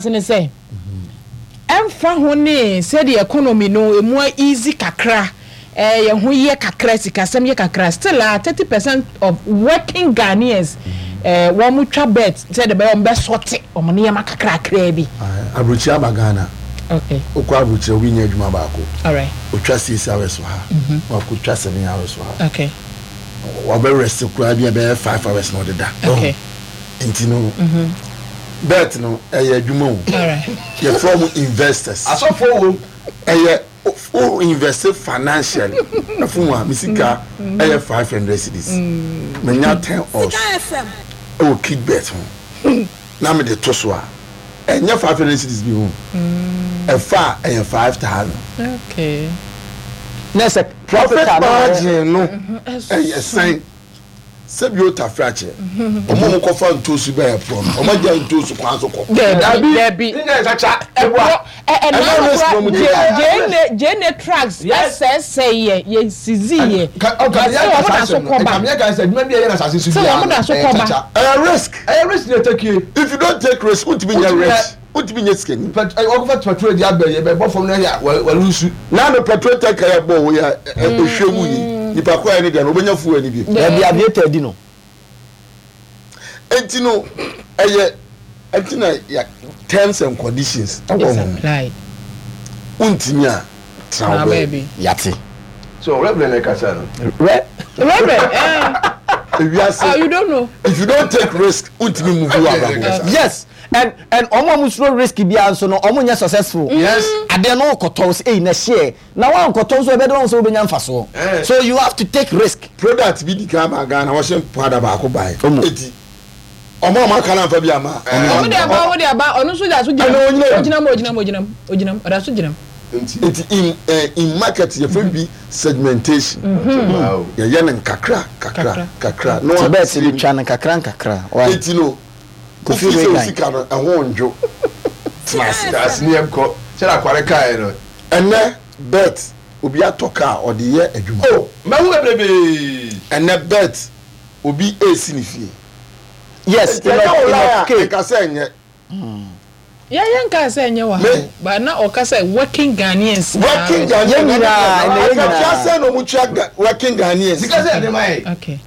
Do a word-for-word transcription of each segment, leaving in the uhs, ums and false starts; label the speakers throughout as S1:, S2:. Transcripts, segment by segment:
S1: Ne sɛ ɛmfa ho ne sɛdeɛ economy no emu easy kakra, ɛɛ yɛn ho yɛ kakra, sikasɛm yɛ kakra, still a thirty percent of working Ghanaians ɛɛ wɔn mo twa bet sɛdeɛ bɛyɛ wɔn bɛ sɔte wɔn nneɛma kakrakra bi.
S2: Aburokyi aba Ghana.
S1: Okay.
S2: Okɔ aburokyire, obi nyɛ adwuma baako.
S1: Alright.
S2: Otwa six hours wɔ ha, wakɔ twa seven hours wɔ ha.
S1: Okay.
S2: Wabɛ rest koraa bi a bɛyɛ five hours na ɔde da.
S1: Okay.
S2: Nti no, bet no ɛyɛ adwuma o.
S1: Alright.
S2: Yɛfrɛ mo investors.
S3: Asɔfoɔ wo.
S2: Ɛyɛ o, invest financially. Ɛfun wa mi sika ɛyɛ five hundred cedis, mɛ ten odds ɛwɔ kidbet ho na mi de to so a, ɛnyɛ five hundred cedis bi ho, ɛfa a ɛyɛ five thousand.
S1: Okay.
S4: Na sɛ
S2: profit
S4: capital no
S2: margin no ɛyɛ sɛn? Sɛbi o, tafra kyɛ ɔmo a ɔmo kɔfa ntoosu bɛyɛ porɔ no, ɔmo agya ntoosu kwan so kɔ.
S1: Dabi, dabi.
S3: Ne nyɛ kyakya.
S1: Ɛborɔ ɛ
S2: Ɛno
S1: ɛnan
S2: risk na
S1: kora
S2: ɔmo
S1: gye
S2: take.
S1: gyeene gyeene trucks
S3: Yes.
S1: ɛsɛɛsɛ yɛ yɛ seize yɛ.
S3: Ɔka
S1: Sɛ wɔn da so kɔba.
S3: nka meyɛ kan sɛ adwuma bi a ɛyɛ na asase so
S1: Sɛ
S3: biara
S1: wɔn da so
S3: no, ɛyɛ
S1: kɔba.
S3: kyakya.
S2: Ɛyɛ risk.
S3: Ɛyɛ risk na ɛtake.
S2: If you don't take risk, wontumi nyɛ
S3: Wontumi
S2: rich,
S3: nyɛ-
S2: wontumi nyɛ sikani.
S3: Pet ɔkɔfa petrol di abɛ yɛ bɛ bɔ fam na yɛ wɔlu nsu.
S2: Naanu petrol tanker yɛ bɔ wo yɛ ehwɛ mu yi, nipa kɔ yɛ ne deɛ no, obɛnya fuel ni bi.
S4: Dabi, aviator di no.
S2: Eti no ɛyɛ ɛti na yɛ terms and conditions ɛwɔ
S1: It's
S2: ho.
S1: applied.
S2: Wontumi a, tena
S1: Na
S2: wo baabi.
S1: baabi.
S4: Yate.
S3: So Reverend na ɛkasa no.
S4: Rɛ.
S1: Reverend, eh,
S2: ewiase.
S1: Oh, you don't know.
S2: If you don't take risk, wontumi move wo abrabɔ.
S4: Yes, and and ɔmo a mo suro risk biara nso no, ɔmo nyɛ successful.
S3: Yes.
S4: Adeɛ no kɔtɔ sɛ eyi na ɛhyɛ na wankɔtɔ nso, ɛbɛde wɔn sɛ wobɛnya mfasoɔ.
S3: Eh.
S4: So you have to take risk.
S2: Product bi di kan ba Ghana, wɔhyɛ powder baako ba yi.
S4: Omo.
S2: Eti ɔmo a ɔmo aka na nfa bi ama.
S1: Ɔmo de aba, ɔmo de aba, ɔno nso da so gyina
S2: Ɛna
S1: mu.
S2: onyina mu.
S1: Ogyina mu, ogyina mu, ogyina mu, ogyina mu, ɔda so gyina mu.
S3: Nti.
S2: Nti in eh, in market yɛfrɛ bi segmentation.
S3: Wow.
S2: Yɛyɛ no nkakra kakra
S1: Kakra.
S2: kakra na
S4: ti bɛɛ
S2: wa
S4: ti de twa no nkakra nkakra why.
S2: Eti no
S4: Kofi
S2: kofi sɛ
S4: Reagan.
S2: osika no ɛho ndwo, tena ase.
S3: Ase ne yɛm kɔ sɛ akware kaeɛ no.
S2: Ɛnɛ bet, obi atɔ kaa ɔde yɛ adwuma.
S3: O mɛhu bebrebe.
S2: Ɛnɛ bet, obi esi ne fie.
S4: Yes.
S2: Nti ɛnyɛ wo lie a
S4: Enoch K.
S2: ɛka sɛ ɛnyɛ.
S1: Yɛ yɛn nka sɛ ɛnyɛ wɔ ha
S2: Me-
S1: o, but na ɔka sɛ working Ghanaians.
S2: Working Ghanaians.
S4: Yɛn nyinaa, ɛnɛ yɛn
S2: akatua
S4: nyinaa.
S2: sɛ na ɔmo tua Ga- working Ghanaians.
S3: Sika sɛ ɛde ma yɛ.
S1: Okay.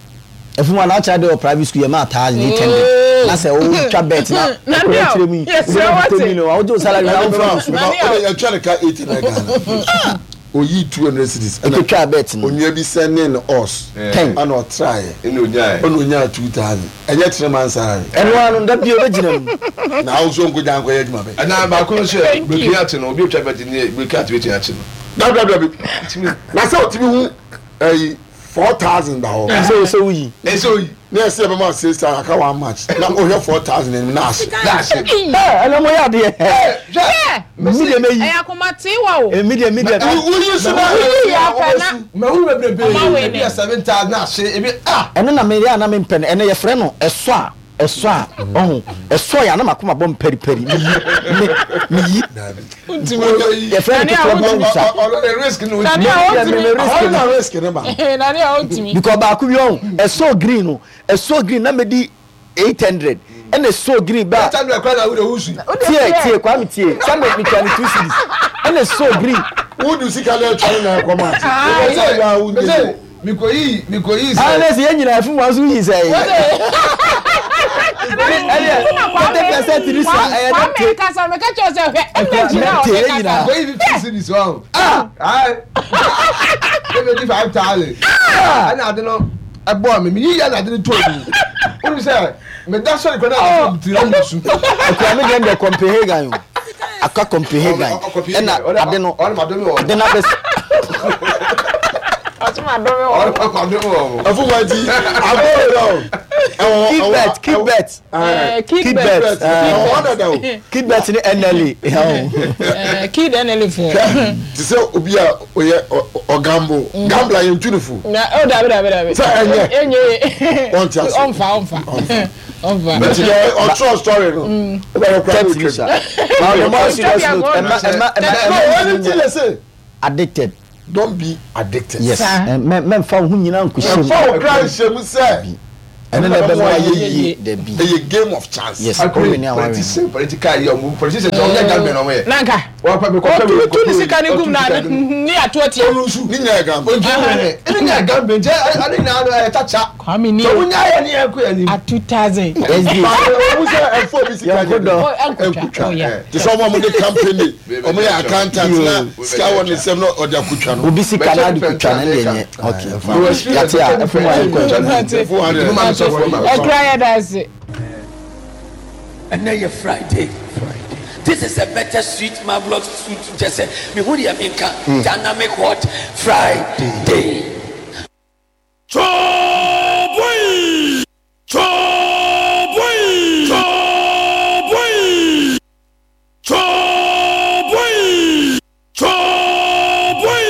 S4: Efun wa na ɔkyerɛ de wɔ private school yɛ maa thousand eight hundred
S1: Oh.
S4: na sɛ o twa bet na
S1: Na
S4: ɔkɔ
S1: ndeɛ o,
S4: akyerɛ mu yi
S1: yɛsrɛ
S4: wobɛnya
S1: wate.
S4: fifty million a wogye o salary na
S2: Ɛna
S4: wofɛ
S2: mema
S4: no so.
S2: mema ɔde yɛtwa ne ka eight hundred Ghana, oyi two hundred cedis.
S4: Ekotwa bet no.
S2: Onua bi sɛ ne os
S4: Ten.
S2: ɛna ɔtraeɛ.
S3: Ɛna onyaɛ.
S2: Ɛna onyaa two thousand, ɛnyɛ three months salary.
S4: Ɛno ano da bio bɛgyina mu.
S2: Na ahosuo nkogya nkɔyɛ adwuma bɛ.
S3: Ɛna baako nso yɛ
S1: Thank you.
S3: biriki ate no, obi otwa bet ne biriki ate betumi akye no.
S2: Dabidabidabi, na sɛ otumi hu ɛyi four thousand da hɔ.
S4: Sɛ o sɛ woyi.
S3: Ɛsɛ oyi.
S2: Ne ɛsɛ yɛ bɛma six thousand, aka one match na ohwɛ four thousand anim na ahye.
S3: Daahye.
S4: Ɛ ɛnɛ mo yɛ adeɛ.
S1: Hwɛ.
S4: Mi deɛ mɛ yi.
S1: Ɛyɛ akomatewa o.
S4: Mi deɛ mi deɛ.
S2: Woyi so na
S1: Woyi yɛ apɛ na.
S3: Mɛhu bebrebe.
S1: Ɔma wei
S3: ebi
S1: ne.
S3: yɛ seven thousand na ahye, ebi ah.
S4: Ɛno na meyɛ a na mempɛ no. Ɛnɛ yɛfrɛ no ɛsɔ a ɛsɔ a ɔho ɛsɔ yɛ a na makoma bɔ mpɛripɛri, meyi me meyi. Yɛfrɛ no
S1: Nani a
S4: ketewa bi
S1: wotumi-
S4: wusa.
S3: Ɔno de risk no.
S1: Nani a
S4: Me- me-
S1: wotumi.
S4: me risk
S2: ɔno
S4: no.
S2: na risk ne ba.
S1: Nani a wotumi.
S4: Because baako bi ɔho ɛsɔ green no, ɛsɔ green na medi eight hundred, ɛna ɛsɔ green ba.
S3: Eight hundred kwan na wo de wusu.
S4: Tie, tie, Kwame, tie sɛ me metwa ne two cedis, ɛna ɛsɔ green.
S2: Wudu sika na ɛtwa ne na ɛkɔ match.
S3: Mese
S2: Ɛsɛ wa
S3: mese mikoyi mikoyi
S4: ah
S3: sɛ.
S4: Ne sɛ yɛn nyinaa fún wa nso yi sɛ ɛyɛ thirty percent ni sa ɛyɛ
S1: Kwame
S4: nɛte.
S1: kasa, meka kyerɛ sɛ hwɛ energy na
S4: Nɛte,
S1: ɔde
S4: yɛn
S1: kasa.
S4: nyinaa.
S3: Mikoyi fifty cedis wɔn. Ah ayi ebi di five thousand. Ɛna ade no ɛbɔ mi mi yi yɛ na ade no tó mi o ní sɛ mɛ da sɔrɔ kɔ náà ɔtí tiri ɔmu su.
S4: Akura mi deɛ deɛ Copenhagen o, aka Copenhagen, ɛna ade no
S3: ɔne ma dɔmi wɔ.
S4: Ade no abɛ
S1: Ɔtuma dɔmi wɔ.
S3: Ɔne ma dɔmi wɔ.
S2: Ɛfún wa ti abɔɔ yɛ o.
S4: Keep bet, keep bet.
S1: Ɛɛ,
S4: Keep
S1: kid
S4: bet.
S1: bet.
S2: Ɛwɔ hɔ dada o.
S4: Keep bet ne N L A ɛhɛn.
S1: Kid N L A fo.
S2: Te sɛ obi a ɔyɛ ɔgamble, gambler yɛn tu ne fo.
S1: Na o dabi, dabi, dabi.
S2: Sɛ ɛnyɛ.
S1: Enye ye.
S2: Ɔnte ase.
S1: Ɔnfa, ɔnfa, ɔnfa.
S2: Nti deɛ ɔtwerɛ story no wobɛyɛ kora
S4: Thirty
S2: ne
S4: ni sa
S2: otwam.
S4: But on the more serious note, ɛma ɛma ɛma
S2: No,
S4: ɛma
S2: anything they say.
S4: Addicted.
S2: Don't be addicted.
S4: Yes.
S1: Saa.
S4: Mɛ mɛnfa wo ho nyinaa nkohyɛ mu.
S2: Ɛfa wo kra nhyɛ mu sɛ
S4: Ɛno na ɛbɛma wayɛ yie dabi.
S2: Ɛyɛ game of chance.
S4: Yes, ɔwini a wawini.
S3: Politician political yɛ ɔmo politician sɛ ɔmo yɛ gambling ɔmo yɛ.
S1: Nanka. Ɔtu ne sika ne gum na ne ato atia.
S3: Olusu.
S2: Ne nyɛ gambling.
S3: Ojú mi ne nyɛ gambling nti ɛne nyinaa no ɛyɛ kyakya.
S1: Kwame ni.
S3: Sɛ wonya yɛ ne yɛ kɔ yɛ nim.
S1: A two thousand.
S2: Ɔmo sɛ ɛfɔ bi sika
S4: nyɛ
S2: de. Ɛnkutwa. Te sɛ ɔmo a ɔmo de company ɔmo yɛ accountant na sika wɔ ne nsam na ɔde akutwa no.
S4: Obi sika na ade kutwa no ne nyɛ. Okay. Yate a ɛfɔ mu ayɛ kɔ.
S2: Four hundred.
S1: Ɛkura yɛ da ase.
S5: Ɛnɛ yɛ Friday. This is a better sweet marvelous sweet kyɛ sɛ mehu deɛ menka dynamic hot Friday.
S6: Choboi! Choboi! Choboi! Choboi! Choboi!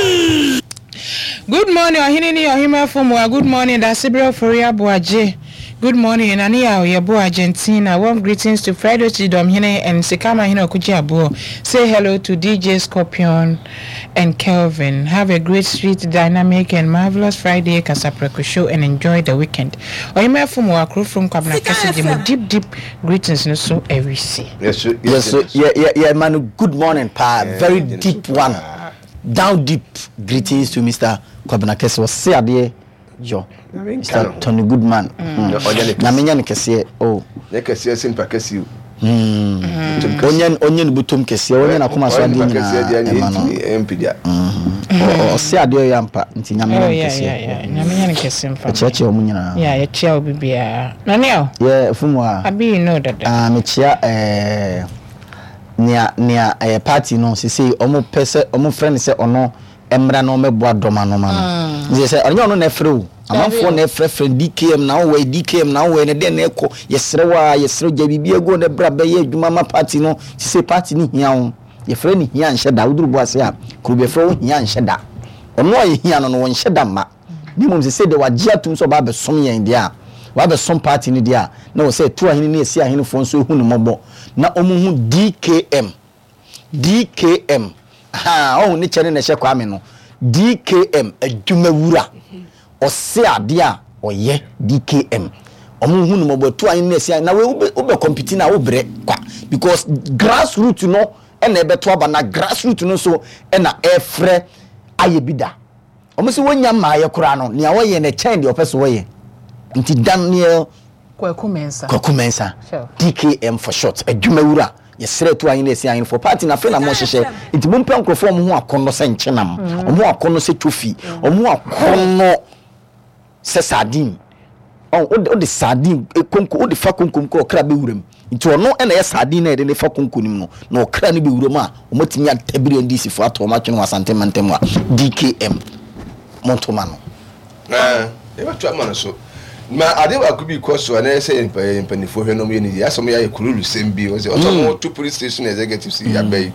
S1: Good morning, Ɔhene ne Ɔhema Fomua. Good morning, Dasibere Ofori Aboagye. Good morning, Nani Yaw Yebo Argentina. Warm greetings to Friday Chidomhene and Sikama Hene Okuji Abuo. Say hello to D J Scorpion and Kelvin. Have a great, sweet, dynamic, and marvelous Friday Kasapreko show and enjoy the weekend. Ɔhema Fomua, crew from Kwabena Kese Jimo. Deep, deep greetings. No so every see.
S3: Yes, yes,
S4: yes, so, yeah, yeah, yeah, man. Good morning, pa.
S3: Yeah,
S4: Very
S3: yeah,
S4: deep one. Down deep greetings to Mister Kwabena Kese. Was say ade yo. Mister Tony Goodman. Na menya ne kese oh.
S3: Ne kese simpa kese.
S4: Mm. Onyen onyen butum kese, onyen akoma so ade nyina. E ma no.
S3: M P dia.
S4: O se ade yo ampa nti nya menya ne kese.
S1: Yeah, yeah, nya menya ne kese mfa.
S4: Che che omu nyina.
S1: Yeah, ye chia obi bia. Na ne o.
S4: Yeah, fumu a.
S1: Abi you know that.
S4: Ah, me chia eh nia nia eh party no sisi omo pese omo friend se ono emra no meboa doma no ma no. Nti se onye ono na efre o. Amanfo na efre frɛ D K M na wo D K M na wo ne den na ekɔ yesere wa yesere gya bibia go na bra be ye adwuma ma party no sisi party ni hia wo. Yefre ni hia nhye da woduru bo ase a kru be frɛ wo hia nhye da. Ono a ye hia no no wo nhye da ma. Ni mom sisi de wagye atum so ba be som yen de a. Wa be som party ni de a na wo se tu ahene ni esi ahene fo nso hu ne mobɔ. Na omu hu D K M. D K M. Ha, oh ni chene na hye kwa me no. D K M adwuma wura. Ose ade a oye D K M. Omu hu no mobo tu anyi na esi na we wo be compete na wo bre kwa because grassroots no e na ebeto aba na grassroots no so e na efre aye bida. Omu se wonya maaye kora no nea wo ye na chen de opeso wo ye. Nti Daniel
S1: Kwaku Mensah.
S4: Kwaku Mensah. D K M for short. Adwuma wura. Yesere tu anyi na esi anyi for party na fe na mo hyehyɛ. Nti mo mpɛ nkrofo mo ho akono se nkyenam. Omo akono se tofi. Omo akono se sardine. Oh, o de sardine konko o de fa konkom ko okra be wuram. Nti ono e na ye sardine na e de ne fa konko nim no. Na okra ne be wuram a omotimi atabiri N D C fo ato o matwe no Asante mantem a D K M. Montoma no.
S3: Eh, e ba twa ma so. Ma ade wa kubi koso na se mpanifo hwe no ye ni asom ya kurulu sembi o se o to police station executives ya bei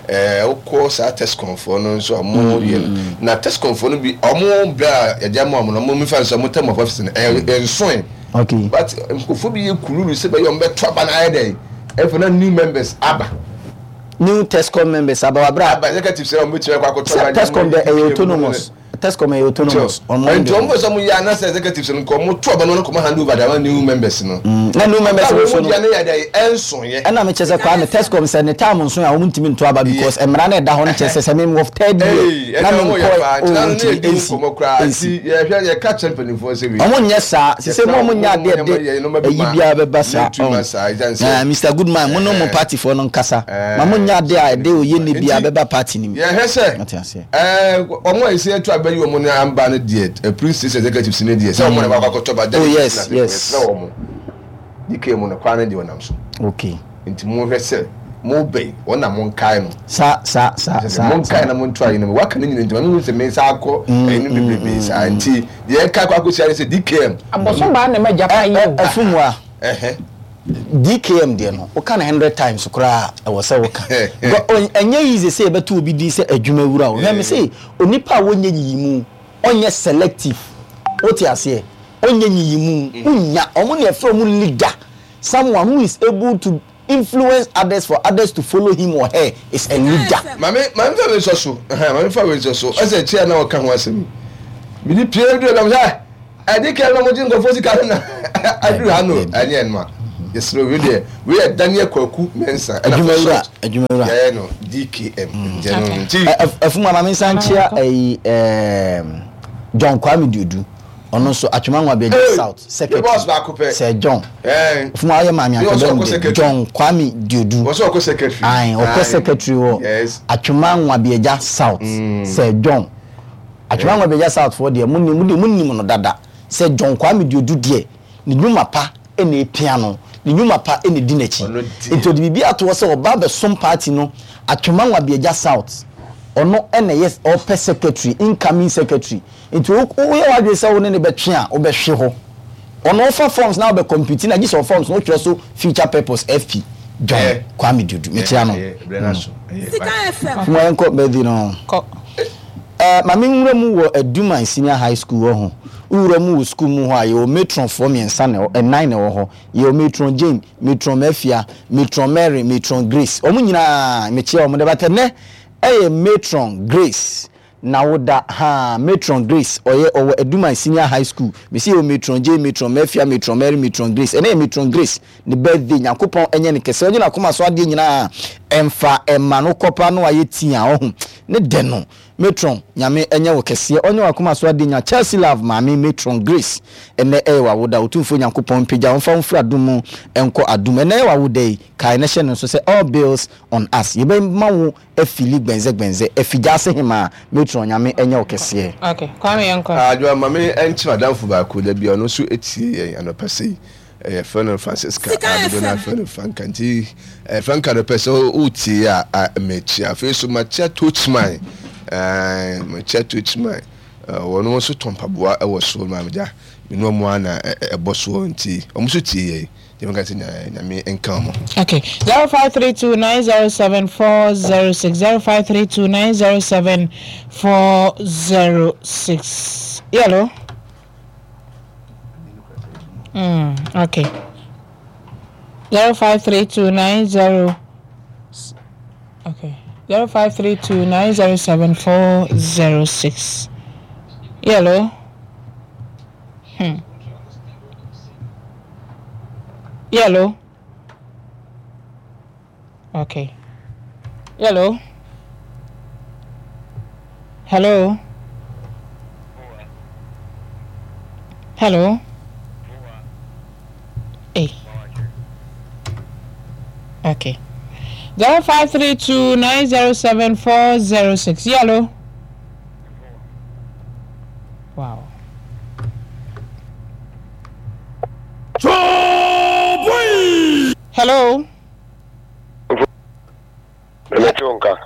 S3: eh okọ sa test confor no so mo ye na test confor no bi omo bra ya jam mo no mo mifa so mo tem of office na enso.
S4: Okay,
S3: but nkofo bi ye kurulu se be yo mbe to aba na aye dey e for na new members aba
S4: new testcom members aba bra
S3: aba executives e mo ti kwa akọtọ
S4: aba testcom dey autonomous. Testcom is autonomous.
S3: And to almost some ya na executives no ko mo to aba no ko hand over the new members no.
S4: Na new members no so no.
S3: Ya na ya dey enso ye.
S4: E na me chese kwa me testcom se ne time nso ya wo ntimi nto aba because emra na da ho no chese se me of third year.
S3: Na me ko na ne di ko kra ti ye hwe ye ka champion for se we.
S4: Omo nye sa se se mo mo nya de de eyi bia be ba sa. Na Mister Goodman mo no mo party for no nkasa. Ma mo nya de a de oye ne bia be ba party ni.
S3: Ye hwe se. Eh omo e se to aba yi omo na amba no de police station executives ne de se omo na ba akoto ba.
S4: Oh yes, yes.
S3: Na omo D K mu na kwa na de onam so.
S4: Okay.
S3: Nti mo hwe se mo be wona mo nkai no.
S4: Sa sa sa sa.
S3: Mo nkai na mo nto ayi no. Waka ne nyina nti mo se me sa akọ enu bebrebe sa nti de ka kwa akosi se D K M.
S1: Aboso ba na ma japa yi o.
S4: Afumwa.
S3: Eh
S4: D K M de no o kan hundred times kra e wo se wo kan enye easy say beto obi din se adwuma wura o hwe me say onipa wo nye yiyimu onye selective o ti ase onye yiyimu unya omo na e omo leader, someone who is able to influence others for others to follow him or her is a leader.
S3: Mame mame fa we so so mame fa we so so o se chia na o kan ho asem mi ni pie do na Ɛdi kɛ na mo gye nkɔfo sika no na aduru ha no ɛnyɛ ɛnma yɛsrɛ wei deɛ wei yɛ Daniel Kwaku Mensah ɛna for short yɛyɛ no D K M nkyɛn no nti.
S4: Ɛfuma maame nsa nkyia ɛyi ɛɛm John Kwame Duodu ɔno nso Atwema Nwabiagya South secretary Sir John ɛfuma ɔyɛ maame akɔdɔm John Kwame Duodu ayi ɔkɔ secretary wɔ Atwema Nwabiagya South Sir John. Atwema Nwabiagya South foɔ deɛ mo nim mo nim no dada sɛ John Kwame Duodu deɛ ne nnwuma pa na epia no, ne nnwuma pa na edi n'akyi. Nti ɔde biribi ato hɔ sɛ ɔba abɛsom party no Atwema Nwabiagya South ɔno na ɛyɛ ɔpɛ secretary, incoming secretary. Nti wo woyɛ w'adwene sɛ wo ne no bɛtwe a wobɛhwe hɔ. Ɔno ɔfa forms na wobɛ compete na gye sɛ forms no wotwerɛ so future purpose F P John Kwame Duodu mekyia no. Fuma yɛnkɔ birthday no. Eh, ma me nwura mu wɔ Aduman Senior High School hɔ ho. Wo wura mu wɔ sukuu mu hɔ a, yɛwɔ matron foɔ mmiɛnsa na ɛwɔ, nnan na ɛwɔ hɔ. Yɛwɔ Matron Jane, Matron Mafia, Matron Mary, Matron Grace. Wɔn nyinaa, mekyia wɔn dɛ, but ɛnnɛ ɛyɛ Matron Grace n'awoda, haa, Matron Grace, ɔyɛ, ɔwɔ Aduman Senior High School. Mese yɛwɔ Matron Jane, Matron Mafia, Matron Mary, Matron Grace. Ɛnnɛ yɛ Matron Grace ne birthday. Nyankopɔn nyɛ no kɛse, ɔnye n'akoma so adeɛ nyinaa mfa mma no. Kɔpa no ayɛ tea, ɔho, ne dɛ no. Matron Nyame nyɛ wo kɛseɛ ɔnyɛ wakoma so adeɛ nya Chelsea love maame Matron Grace ɛnɛ ɛyɛ wawoda Otumfoɔ Nyankopɔn mpagya wo mfa wo mfiri adom mu nkɔ adom ɛnɛ ɛyɛ wawoda yi kae na hyɛ no nso sɛ all bills on us yɛbɛma wo afili gbɛnzɛ gbɛnzɛ afi gyaase hemaa Matron Nyame nyɛ wo kɛseɛ.
S1: Okay, Kwame yɛnkɔ.
S3: Adwoa ma me nkyerɛ m'adamfo baako da bi a ɔno nso tie yɛn anɔpa sei. Yɛfrɛ no Francisca a dodoɔ no ara frɛ no Franka nti Franka no pɛ sɛ wotie a mekyia. Afei nso makyia Tochman, makyia Tochman, wɔn nso tɔ mpaboa wɔ soɔ ma megya me ne wɔn ara na ɛbɔ soɔ nti wɔn nso tie yɛn nti meka sɛ Nyame nka wɔn ho.
S1: Okay, zero five three two nine zero seven four zero six zero five three two nine zero seven four zero six. Hello. Mm, okay. Zero five three two nine zero. Okay. Zero five three two nine zero seven four zero six. Hello. Hmm. Hello. Okay. Hello. Hello. Hello. Hey. Okay. Zero five three two nine zero seven four zero six. Hello. Wow. Hello.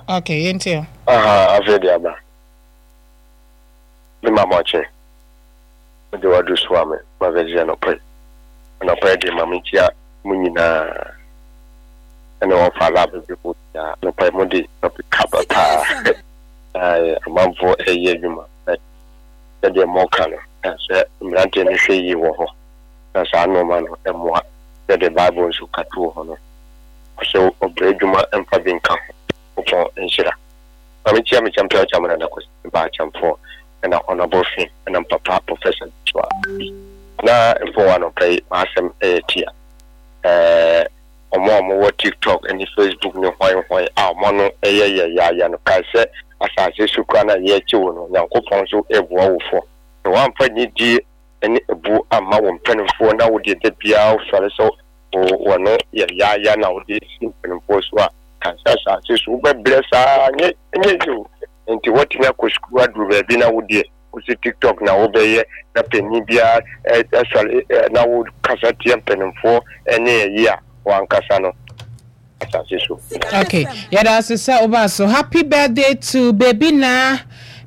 S1: Okay, yɛntie.
S7: Aha, afei de aba. Me ma mɔkye. Mede wadu so a me ma bɛgye anɔpa yi. Anɔpa yi de ma mekyia mo nyinaa. Ɛne wɔfa lab bi mu nyinaa. Anɔpa yi mo de topic kaba paa. Amanfoɔ ɛyɛ adwuma. Sɛdeɛ mɔka no, sɛ mmeranteɛ no hwɛ yie wɔ hɔ. Na saa nneɛma no ɛmmoa. Sɛdeɛ Bible nso ka too hɔ no. Ɔsɛ ɔbrɛ adwuma mfa bi nka ho. Nyankopɔn nhyira. Maame kyia me kyɛmpɛ ɔkyɛ amana na kwasi ba akyɛmfoɔ ɛna honorable fin ɛna mpapa professor Joshua bi na mpo wɔ anɔpa yi m'asɛm ɛyɛ tia ɛɛ ɔmo a ɔmo wɔ tiktok ɛne facebook ne hwan hwan a ɔmo ano ɛyɛ yɛ yaaya no kae sɛ asase so kura na yɛkye wo no Nyankopɔn nso ɛboa wo fɔ na wamfa nidie ɛne ebu amma wo mpanimfoɔ na wo deɛ da biara wosɔre sɛ wɔno yɛ yaaya na wode si mpanimfoɔ so a kansa asase so wobɛbrɛ saa nyɛ nyɛ yi o nti wɔtumi akɔ sukuu aduru baabi na wodeɛ wosi tiktok na wobɛyɛ na panyin biara ɛsɔre na wo kasa tia mpanimfoɔ ɛne ɛyi a wankasa no asase so.
S1: Okay, yɛda ase sɛ woba so. Happy birthday to baby na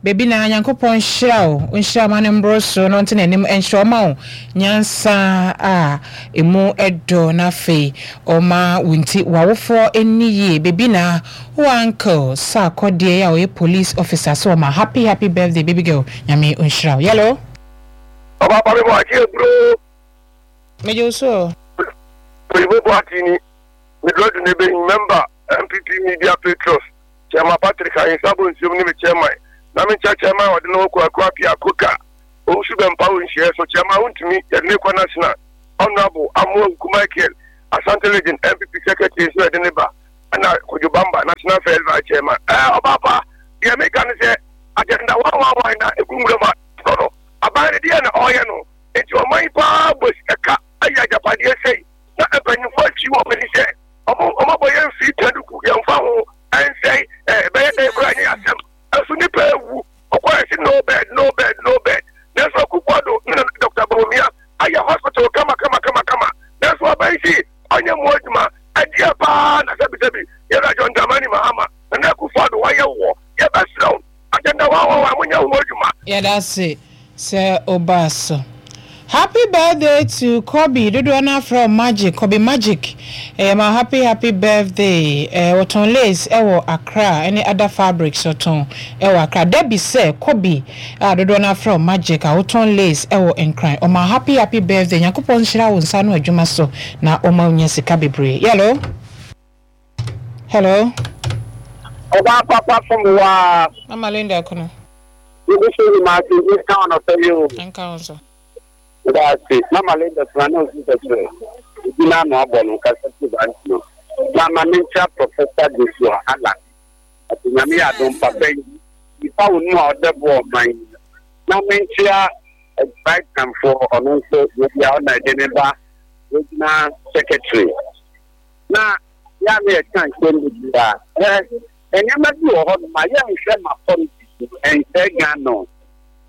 S1: baby na Nyankopɔn nhyira wo, nhyira ma no mboro so na ɔnte n'anim nhyira ɔma wo nyansa a emu ɛdɔ na afei ɔma wo nti w'awofoɔ ani yie. Baby na wo uncle Sarkodie a ɔyɛ police officer so ɔma happy happy birthday baby girl. Nyame nhyira wo. Yellow.
S7: Ɔba pa me bɔ akyi eburo.
S1: Meje so.
S7: Oyibo bɔ ati ni. Medrodu ne be member M P P Media Patriots. Chairman Patrick Ayinsabo nsiom ne me chairman. Na me nkyɛ chairman ɔde no kɔ akɔ apia koka. Owusu Bempah wo nhyia so Chairman Wontumi yɛde ne kɔ national. Honorable Amoa Nku Michael, Asante Region N P P Secretary nso yɛde ne ba, ɛna Kojo Bamba, National First Vice Chairman. Ɛɛ ɔbaapa deɛ meka ne sɛ agenda one one one na egu nwura mu a no aban no deɛ na ɔreyɛ no, nti ɔman yi paa bɔ sika ka ayɛ agyapadeɛ sɛyi na mpanyinfoɔ akyi wɔ ani sɛ ɔmo ɔmo abɔ yɛn fi taduku yɛnfa ho ɛnsɛn ɛɛ bɛyɛ dɛ kura nyɛ asɛm ɛso nipa ewu ɔkɔ ɛsi no bed, no bed, no bed, nanso Akufo-Addo ne Doctor Bawumia ayɛ hospital kama kama kama kama, nanso aban si ɔnyɛ mu adwuma ɛdeɛ paa na sɛbisɛbi yɛrɛ John Dramani Mahama na Akufo-Addo wayɛ wɔ yɛbɛsrɛw agenda one one one mo nyɛ ho adwuma.
S1: Yɛda ase sɛ ɔbaa so. Happy birthday to Kobe dodoɔ no afrɛ Magic, Kobe Magic. Ɛyɛ ma happy happy birthday. Ɛɛ wɔtɔn lace ɛwɔ Accra ɛne other fabrics wɔtɔn ɛwɔ Accra. Debbie sɛ Kobe a dodoɔ no afrɛ Magic a wɔtɔn lace ɛwɔ Nkran, ɔma happy happy birthday. Nyankopɔn nhyira wo nsa no adwuma so na ɔma nya sika bebree. Hello, hello.
S8: Ɔbaa papa fom waa.
S1: Mama Linda Kono.
S8: Ebi so ni maa ti nka ɔnɔ fɛ yi o.
S1: Nka wɔn so.
S8: Daase, Mama Linda sena na osi sɛkyerɛ ebi n'ano abɔ no kasa ti ba nti no. Mama ne nkyɛn Professor Joshua Alan. Ati Nyame yɛ adom papa yi. Nipa wo mu a ɔdɛ bɔ ɔman yi. Na me nkyɛn Brightonfoɔ ɔno nso ebi a ɔna ɛde ne ba regional secretary. Na yà ni ɛka nsɛm bebree a ɛ nneɛma bi wɔ hɔ nom a yɛnhwɛ ma politics ɛnsɛ Ghana o.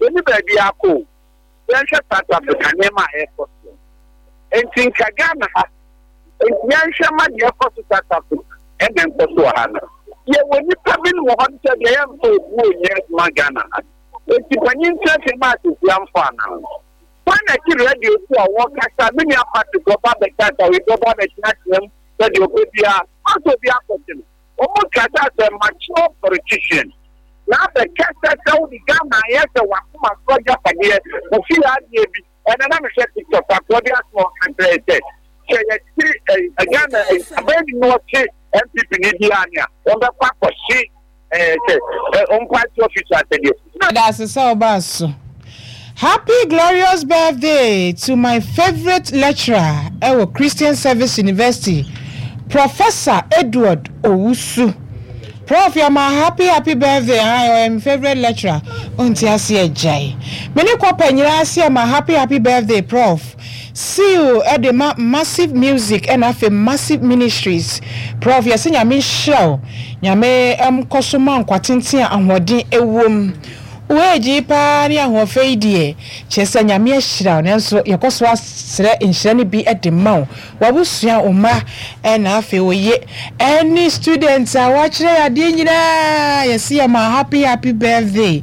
S8: Yɛni baabi akɔ o. Yɛnhwɛ South Africa nneɛma a ɛkɔ so. Nti nka Ghana ha nti yɛnhwɛ ma deɛ ɛkɔ so South Africa ɛna nkɔ so wɔ ha no. Yɛwɔ nipa bi wɔ hɔ sɛ deɛ yɛmfa obu onyɛ adwuma Ghana ha. Nti panyin kyerɛkyerɛ mu asesi amfa anaa. Wɔn na ti radio so a wɔkasa me nua Patrick ɔba bɛkasa wei ɔba bɛkyerɛkyerɛ mu sɛdeɛ ɔpɛ biara ɔsɛ obi akɔte no. Wɔn kasa sɛ mature politician. Na abɛkasa sɛ wode Ghana ayɛ sɛ wakoma so agyapadeɛ ofi adeɛ bi ɛna na mehwɛ TikTok akoɔ de asoma ɔka kyerɛ sɛ sɛ yɛte ɛ Ghana abɛn bi na ɔte N P P ne bi ane a wɔbɛkɔ akɔhye ɛɛ sɛ ɛ ɔmo party office asɛdeɛ.
S1: Yɛda ase sɛ ɔbaa so. Happy glorious birthday to my favorite lecturer ɛwɔ Christian Service University, Professor Edward Owusu. Prof, yɛ ma happy happy birthday. Ah, ɔyɛ my favorite lecturer. Ɔnti ase agyae. Me ne kɔpa nyinaa ase yɛ ma happy happy birthday, Prof. Seal ɛde ma Massive Music ɛna afei Massive Ministries. Prof, yɛsɛ Nyame nhyira wo. Nyame ɛmkɔ so ma nkwa tenten a ahoɔden ɛwɔ mu. Woagyi paa ne ahoɔfɛ yi deɛ kyerɛ sɛ Nyame ahyira wo, nanso yɛkɔ so asrɛ nhyira no bi de ma wo, wabusua, wo mma, ɛna afei woye ɛne students a wɔakyerɛ yɛ adeɛ nyinaa. Yɛsi yɛ ma happy happy birthday.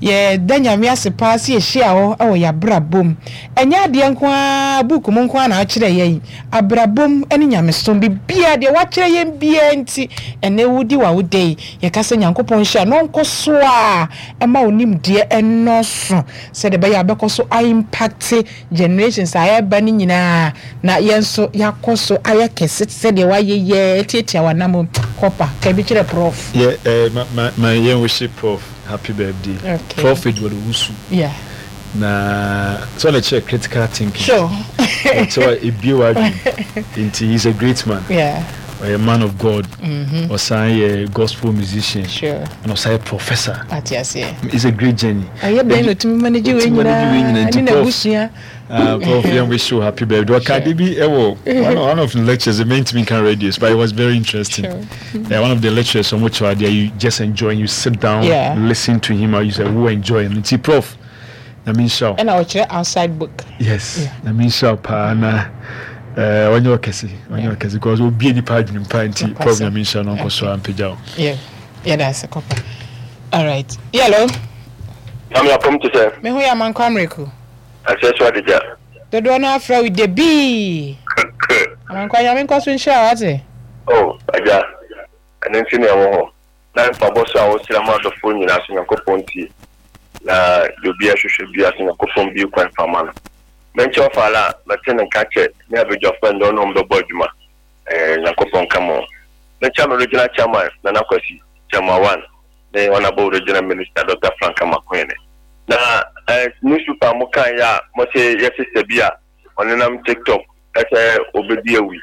S1: Yɛda Nyame ase paa sɛ yɛhyia hɔ ɛwɔ yɛabrabom. Ɛnyɛ adeɛ nko ara book mu nko ara na akyerɛ yɛn abrabom ne nyamesom biribiara deɛ wakyerɛ yɛn biara, nti ɛnɛ wodi w'awoda yi, yɛka sɛ Nyankopɔn hyira na ɔnkɔ so a ɛma wo nimdeɛ ɛnɔɔso sɛdeɛ ɛbɛyɛ a bɛkɔ so aimpact generations a ɛreba no nyinaa na yɛn nso yɛakɔ so ayɛ kɛse sɛdeɛ wayɛ yɛ tiatia w'anam kɔpa ka bi kyerɛ Prof.
S9: Yeah, uh, ma ma ma yɛn wish Prof happy birthday.
S1: Okay.
S9: Prof Edward Owusu.
S1: Yeah.
S9: Na so na kyerɛ critical thinking.
S1: Sure.
S9: Ɔkyerɛ ebie w'adwene. Nti he's a great man.
S1: Yeah.
S9: Ɔyɛ man of God.
S1: Mm-hmm.
S9: Ɔsan yɛ gospel musician.
S1: Sure.
S9: And ɔsan yɛ professor.
S1: Ate aseɛ.
S9: It's a great journey.
S1: Ɔyɛ dɛn na otumi manage wei
S9: Otumi manage wei
S1: nyinaa
S9: nyinaa, nti
S1: ne
S9: Prof.
S1: n'abusua?
S9: Uh, Prof, yɛn wish you happy birthday. Ɔka de bi ɛwɔ one of, one of the lectures, it meant me can radios, but it was very interesting.
S1: Sure.
S9: Yeah, one of the lectures, so much idea, you just enjoy, you sit down,
S1: Yeah.
S9: listen to him, or you say, who enjoy him. Nti Prof, na mi nhyira wo.
S1: Ɛna ɔkyerɛ outside book.
S9: Yes,
S1: Yeah.
S9: na mi nhyira wo paa na eh, ɔnyɛ ɔkɛse, ɔnyɛ ɔkɛse because obi nipa adwene pa nti Prof, na mi nhyira no ɔnkɔ so a mpagya wo.
S1: Yeah. Yɛda ase kɔpa. All right. Hello.
S7: Nyame apɔm te sɛ
S1: Me ho yɛ Amankwa Mmereko.
S7: Aseɛ so adegya.
S1: Dodoɔ no afrɛ wo Debii. Amankwa, Nyame nkɔ so nhyira wo ate.
S7: O agya, ɛno nti ne ɛwɔ hɔ na mpabɔ so a wosrɛ ma adɔfoɔ nyinaa so Nyankopɔn tie na deɛ obi ahwehwɛ bia so Nyankopɔn bie kwan fama no. Menkyɛ ɔfaala a mɛte ne nka kyɛ ne abadwafoɔ ndɛ ɔne ɔm bɛbɔ adwuma. ɛɛ Nyankopɔn ka mo. Menkyɛ me regional chairman Nana Kwasi, chairman one, ne honorable regional minister Doctor Frank Amakoyene na eh, newspaper mo kan yɛ a mo sɛ yɛ sister bi a ɔnenam TikTok ɛsɛ obedi awi.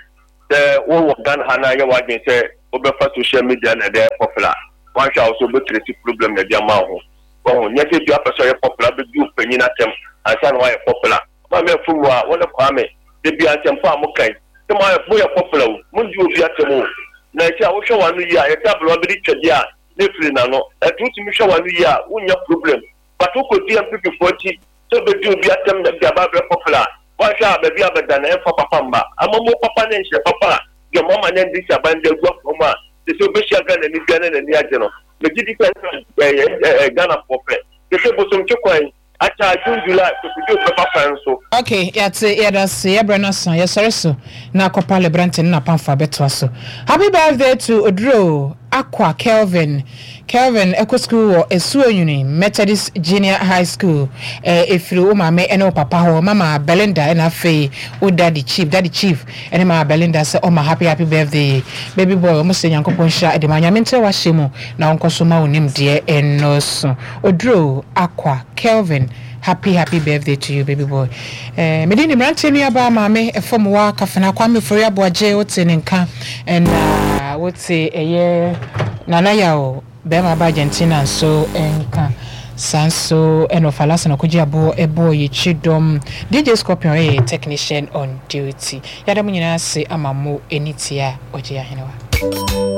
S7: Sɛ wowɔ Ghana ha na yɛ w'adwene sɛ wobɛfa social media na ɛde ayɛ popular, wanhwɛ a wo so wobɛcreate problem na ɛde ama wo ho. Wɔho nyɛ sɛ bi apɛ sɛ ɔyɛ popular bɛdi wo panyin atɛm ansa na woayɛ popular. Maame afum a wɔne Kwame de bi asɛmpa a mokan sɛ moayɛ moyɛ popular o, mondi obi atɛm o. Na ɛsɛ a wohwɛ w'ano yie a, yɛsɛ aberewa bi de twɛdeɛ a ne firi n'ano. Ɛnti wotumi hwɛ w'ano yie a, wonnya problem. But wokɔdi N P P foɔ akyi sɛ wobɛdi obi atɛm na bi aba abɛyɛ popular a, woanhwɛ a baabi a bɛda no ɛmfa papa mma. Amammuo papa ne nhyɛ papa a deɛ ɔmama ne N D C aban de agu akwan mu a te sɛ wobɛhyia Ghana ni bia ne n'ani agye no. Megye di sɛ ɛyɛ ɛyɛ Ghanafoɔ pɛ. Te sɛ Bosomtwe kwan akyɛ June, July kokodwo bɛba kwan so.
S1: Ok, yɛate, yɛda se yɛbrɛ no so, yɛsɔre so na akɔpa Lebrante ne napamfo abɛtoa so. Happy birthday to Oduro Akwa Kelvin. Kelvin ɛkɔ school wɔ Esuonyini Methodist Junior High School. ɛɛ efiri wo maame ɛne wo papa hɔ, Mama Belinda ɛna afei wo daddy Chief, Daddy Chief ɛne Mama Belinda, sɛ ɔma happy happy birthday, baby boy. Ɔmo sɛ Nyankopɔn nhyira ɛde ma Nyame nkyerɛ wahyɛ mu na ɔnkɔ so ma wo nimdeɛ ɛnɔɔso. Oduro Akwa Kelvin, happy happy birthday to you, baby boy. eh, mede ne mmeranteɛ nuabaa maame ɛfam wa Kafena Kwame Ofori Aboagye, wote ne nka ɛna wote ɛyɛ Nana Yaw bɛrima ba Argentina nso nka saa nso, ɛna ɔfa na ɔkɔgye aboɔ ɛbɔɔ yɛkyi dɔm. D J Scorpion ɛyɛ technician on duty. Yɛada mo nyinaa ase ama mo ani tie a ɔgye ahenewa.